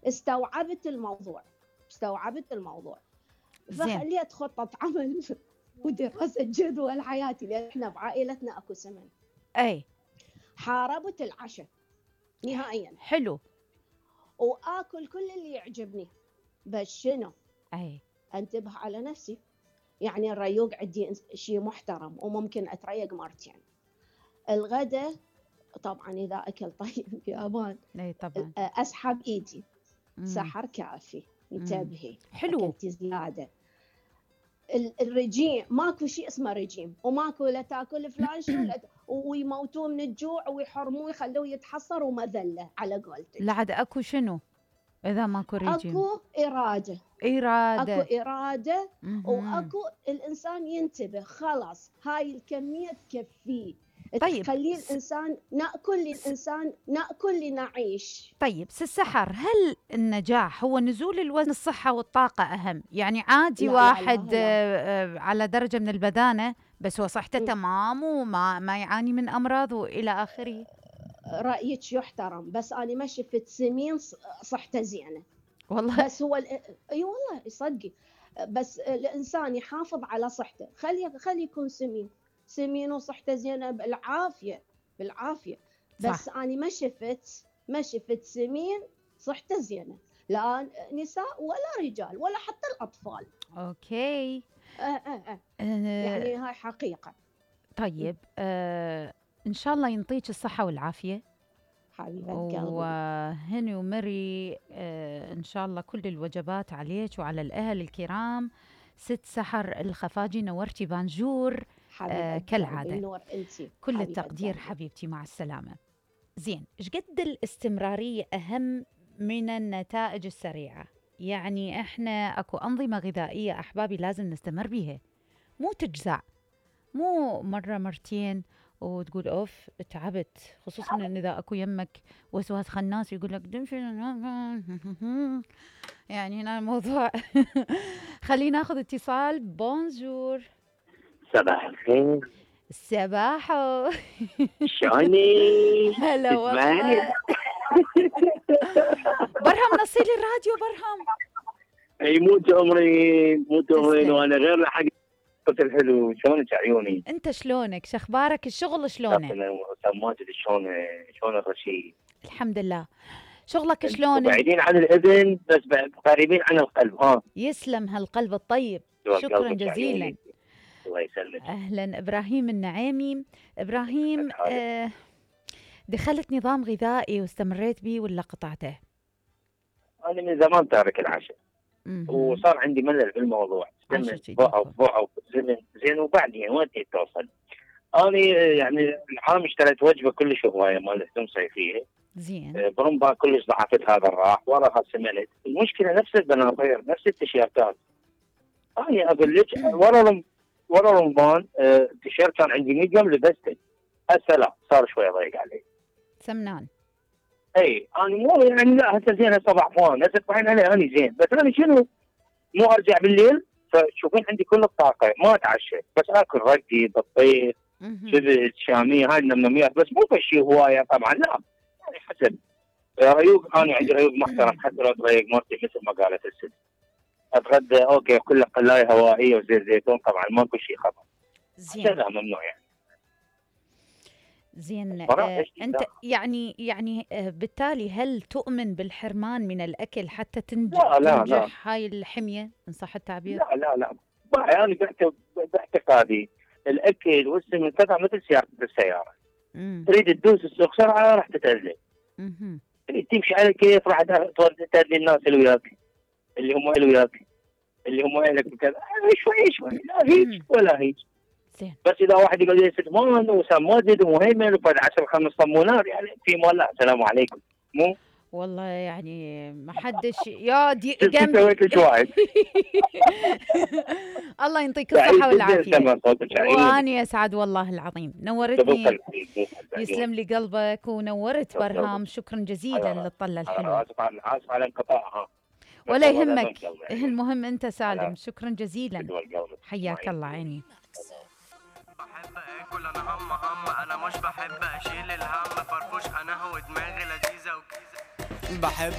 استوعبت الموضوع فخليت خطة عمل ودراسة جدول حياتي، لأن احنا بعائلتنا اكو سمن. حاربت العشاء نهائيا. حلو. واكل كل اللي يعجبني، بس شنو؟ انتبه على نفسي. يعني الريوق عندي شيء محترم وممكن اتريق مرتين. الغداء طبعا اذا اكل طيب يا امان طبعا اسحب ايدي. سحر كافي، انتبهي. حلو. اكلتي زياده. الرجيم ماكو شيء اسمه رجيم، وماكو لا تاكل فلان شنو ويموتوه من الجوع ويحرموه يخلوه يتحصر ومذله على قولتك. لا عاد اكو شنو اذا ماكو رجيم؟ اكو اراده. اكو اراده واكو الانسان ينتبه خلاص هاي الكميه تكفيه. طيب تخلي الانسان ناكل لنعيش. طيب سحر، هل النجاح هو نزول الوزن الصحة والطاقة أهم؟ يعني عادي لا واحد لا. على درجة من البدانة بس هو صحته تمام وما يعاني من أمراض وإلى آخره. رأيك يحترم، بس أنا ما شفت سمين صحته زينة والله. بس هو اي والله صدقي، بس الإنسان يحافظ على صحته. خلي يكون سمين وصحته زينة بالعافية. بس صح. أنا ما شفت سمين صحته زينة، لا نساء ولا رجال ولا حتى الأطفال. أوكي. يعني هاي حقيقة. طيب إن شاء الله ينطيك الصحة والعافية حبيبة قلبي. وهني ومري إن شاء الله كل الوجبات عليك وعلى الأهل الكرام. ست سحر الخفاجي، نورتي بانجور كالعادة. نور انتي. كل التقدير حبيبتي، مع السلامة. زين، ايش قد الاستمرارية أهم من النتائج السريعة؟ يعني احنا اكو أنظمة غذائية أحبابي لازم نستمر بيها، مو تجزع، مو مرة مرتين وتقول أوف تعبت، خصوصا إن إذا أكو يمك وسواس خناس يقول لك دمشي يعني هنا الموضوع. خلينا ناخذ اتصال. بونجور. صباح الخير. صباحو. شلونك؟ هلا والله. برهم نصيلي الراديو برهم. اي مو تؤمرين وانا غير لحق الحلو. شلونك عيوني؟ انت شلونك؟ شخبارك؟ الشغل شلونه؟ ماجد شلون الرشيد؟ الحمد لله. شغلك شلون؟ بعيدين عن الاذن بس قريبين عن القلب. ها يسلم هالقلب الطيب، شكرا جزيلا. الله يسلمك. اهلا. ابراهيم النعيمي. ابراهيم، دخلت نظام غذائي واستمريت به ولا قطعته؟ انا من زمان تارك العشاء وصار عندي ملل بالموضوع. ضعف زين وبعدين وين توصل؟ انا يعني العام اشتريت وجبه كلش هوايه مال لحوم صيفيه زين، برمبا كلش ضعفت، هذا راح وراها سمنت. المشكله نفس البناطيل نفس التيشيرتات. انا اقول لك ورا رمضان التيشيرت كان عندي 100 جرام لبسته، هسه لا صار شوي ضيق علي سمنان. اي انا مو يعني لا هسه زين، هسه ضعفان، هسه طحين علي انا زين، بس انا شنو مو ارجع بالليل فتشوفين عندي كل الطاقه ما اتعشى، بس اكل رقدي بطيخ شبت شاميه هاي النمنميات، بس مو بشي هوايه طبعا لا، يعني حسب ريوق. انا عندي ريوق محترم حتى لو تريق مرتي مثل ما قالت الست. اتغدى اوكي كله قلايه هوائيه وزيت زيتون، طبعا ماكو شيء خطر. زين. هذا ممنوع يعني. زين. انت يعني بالتالي هل تؤمن بالحرمان من الاكل حتى تنجح هاي الحميه ان صح التعبير؟ لا يعني باعتقادي الاكل والسمن كذا مثل سياره السياره. تريد تدوس السوق سرعه راح تتأذى. تريد تمشي على كيف راح تأذي الناس اللي وياك، اللي هم اهلك وكذا. شوي لا هيك ولا هيك. بس اذا واحد يقول لي ستمان وسمادد ومهيمن وفد 10-5 صمونات يعني في مال لا السلام عليكم. مو والله يعني ما حدش يا دي جنبي. سويت لك واحد. الله يعطيك الصحه والعافيه. واني اسعد والله العظيم، نورتني. يسلم لي قلبك ونورت برهام. شكرا جزيلا للطله الحلوه. اسف على انقطاعها ولا يهمك، المهم انت سالم. شكرا جزيلا، حياك الله. عيني بحب اكل انا هم انا مش بحب اشيل الهم فرفوش انا هو دماغي لذيذه وكيزه بحب